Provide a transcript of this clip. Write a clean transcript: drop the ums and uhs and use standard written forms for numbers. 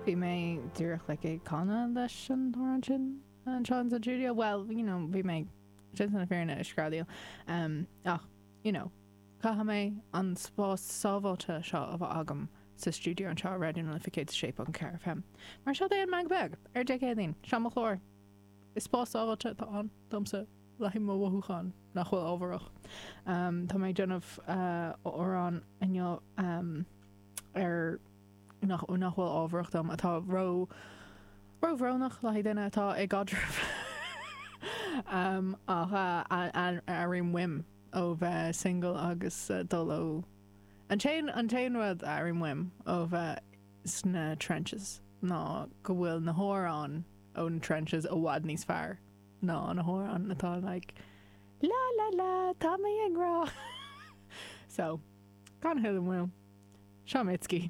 Bhí mé díreach like ag canadh leis an amhrán sin anseo in sa stiúideo. Well, you know, bhí mé déanta na fírinne ag screadaíl. Um, ach, you know, caithfidh mé an spás sábháilte seo a bheith agam sa stiúideo anseo ar Raidió na Life 106.4 FM. Mar seo é an Meangadh Beag ar Dé Céadaoin. Seo mo chlár. Is spás sábháilte atá ann domsa le haghaidh mo mhothúchán nach bhfuil ábharach. Tá mé ag déanamh amhrán inniu ar nach nach bhfuil ábharach dom, atá ró róbhrónach le haghaidh duine atá i gcaidreamh ach a airím uaim ó bheith single agus dul ó an t-aon an t-aon rud a airím uaim ó bheith sna trenches ná go bhfuil na hamhráin ó na trenches i bhfad níos fearr ná na hamhráin atá like la la la tá mé i ngrá. So, gan a thuilleadh moill, seo Mitski.